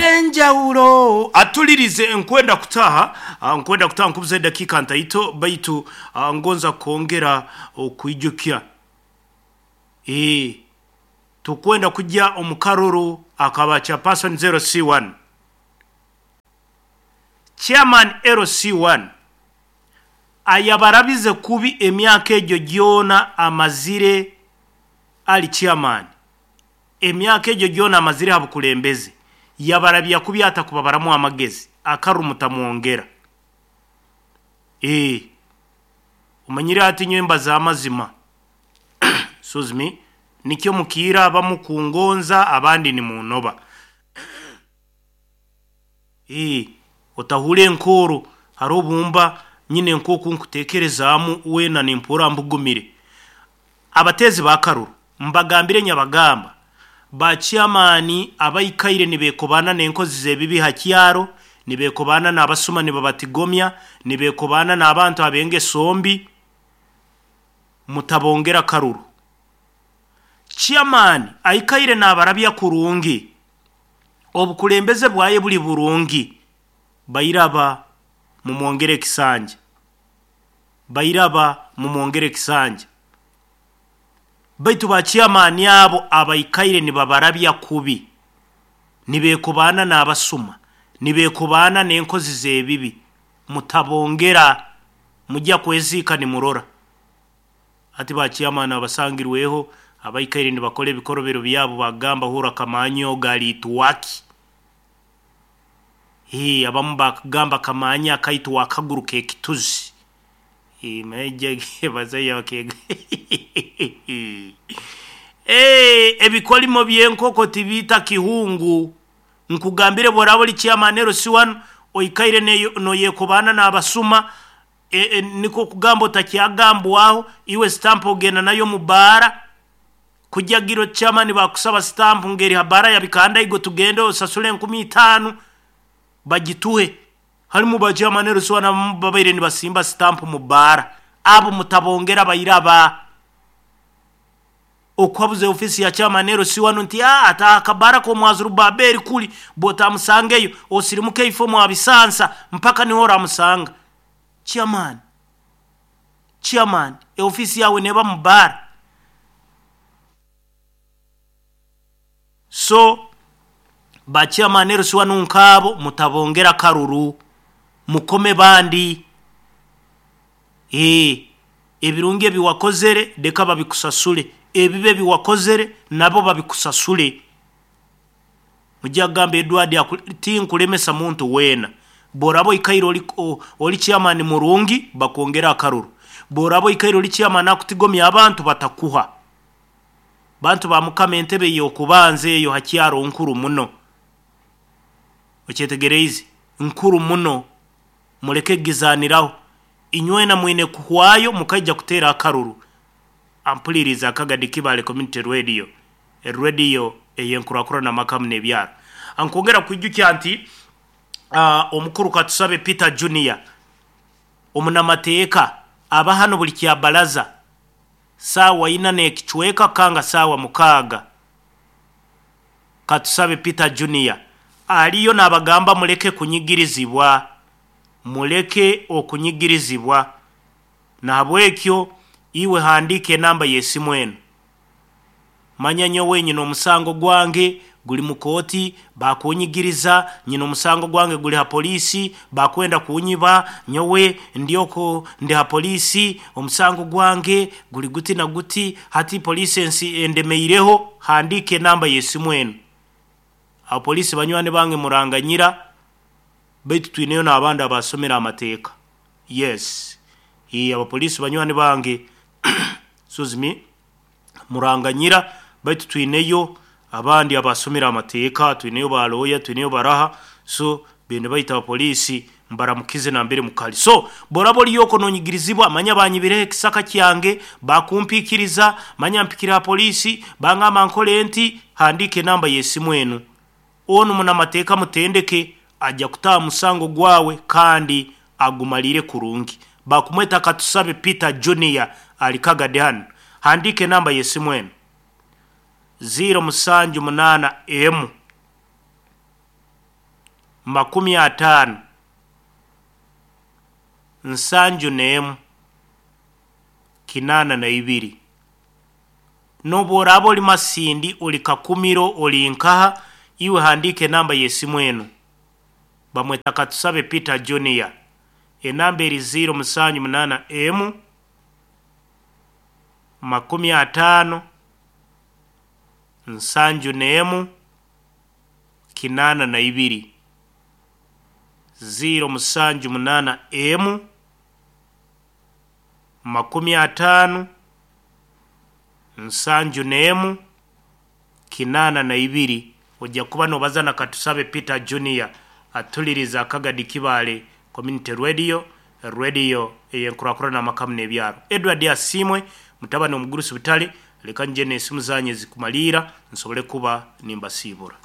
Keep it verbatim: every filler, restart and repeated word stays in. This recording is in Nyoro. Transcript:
Enjawulo atulirize nkwenda kutaha, ah, nkwenda kutaha nkubuza edakika ntaito baitu ah, ngonza kwongera okwijukya eh tukwenda kujya omukaruru akaba chairperson zero C one chairman L C one ayabarabize kubi emyaka egyo gyona amazire ali chairman, emyaka egyo gyona amazire habukulembeze yabarabya kubi atakubabaramu amagezi akarumutamwongera. Eh omanyire ati nyemba za mazima excuse me nikyo mukira abamu kungonza abandi ni munoba. Eh otahule enkoro harobumba nyine nkoku nkutekerezaamu wena nimpura mbugumire. Abatezi bakaruru mbagambire nyabagamba ba chairman abaikaire nibekobana n'enkozi z'ebibi hakyaro, nibekobana n'abasuma nibabatigomya, nibekobana n'abantu abenge sombi, mutabongera karuru. Chairman aikaire n'abarabya kurungi, obukulembeze bwaye buli burungi, bairaba mumwongere kisanja, bairaba mumwongere kisanja. Baitu ba chairman abo abaikaire nibabarabya kubi, nibekobana n'abasuma, nibekobana n'enkozi z'ebibi, mutabongera, mujya kwezika nimurora. Ati ba chairman abasangirweho abaikaire nibakora ebikorobero byabo bagamba hura kamanyo galituwaki. Hii abamu bakagamba kamanya akaitu wakaguru kekituzi. Hii meje bazaya bakega. Eh ebikolimo byenkoko tibita kihungu. Nkugambire borabo li chairman L C one oikaire no yekobana n'abasuma, e, e, niko kugamba otakyagambwaho iwe stamp ogenda nayo mubara kujagiro chairman bakusaba stamp ngeri habara ya bikanda igo tugende osasule nkumi itano bagituhe. Halimu ba chairman L C one babaire nibasimba stamp mubara abo mutabongera bayiraba okwabuze ofisi ya chairman L C one nti ah ata kabara ko mwazuru baberi kuli botamusangeyo osirimuke ifo mu abisansa mpaka niho ramusanga. Chairman chairman e ofisi yawe neba mubara. So ba chairman L C one nkabo mutabongera karuru mukome bandi. Eh ebirungi ebiwakozere deka babikusasule, ebibe biwakozere nabo babikusasule. Mujagamba Edward tinkulemesa muntu wena borabo ikairo oli, oli chairman murungi bakongera akaruru, borabo ikairo oli chairman akutigomya abantu batakuha. Bantu ba mukama entebe yokubanze eyo hakyaro nkuru muno, okyetegereze nkuru muno, muleke gizaniraho inywena mwine kuhwayo mukaija kutera akaruru. Ampuliriza akagadi Kibale Community Radio, e radio eyenkurakura na makamu nebyaro. Ankongera kwijukya nti uh, omukuru Katusabe Peter Junior omunamateeka aba hano buli kya balaza sawa ina nekichweka kanga sawa mukaga. Katusabe Peter Junior aliyo nabagamba muleke kunyigirizibwa, muleke okunyigirizibwa. Nahabwekyo iwe handike namba yesimu eno, manya nyowe nyina omusango gwange guli mukoti bakunyigiriza, nyina omusango gwange guli ha polisi bakwenda kunyiba, nyowe ndioko ndi ha polisi omusango gwange guli guti na guti, hati polisi ensi endemeireho. Handike namba yesimu eno. Abo polisi banywane bange muranganyira baitu twineyo n'abandi abasomera amateeka. Yes, iyi abapolisi banywane bange excuse me muranganyira baitu twineyo abandi abasomera amateeka, twineyo ba lawyer, twineyo baraha, so bende baita abapolisi mbaramukize na mbere mukali. So borabo liyoko nonyigirizibwa manya banyibire kisaka kyange bakumpikiriza manya mpikira polisi bangamba nkole nti handike namba yesimu eno. Ono munamateeka mutendeke ajja kutaa musango gwawe kandi agumalire kurungi. Bakumweta Katusabe Peter Junior alikagade hano. Handike namba yesimu eno zero musanju munana emu makumi ataano nsanju n'emu kinaana na ibiri. N'obu oraaba oli Masindi, oli Kakumiro, oli nkaha, iwe handiika enamba y'esimu enu. Bamweta Katusabe Peter Junior. Enamba eri ziro musanju munaana emu makumi ataano nsanju n'emu kinaana na ibiri. Ziro musanju munaana emu makumi ataano nsanju n'emu kinaana na ibiri. Ojja kuba nobaza na Katusabe Peter Junior atuliriza Akagadi Kibaale Community Radio, radio ey'enkurakurana amakamu n'ebyaro. Edward Asiimwe mutabani omugurusi butale, leka nje n'esimu zanyu ezikumaliira nsobole kuba nimbasiibura.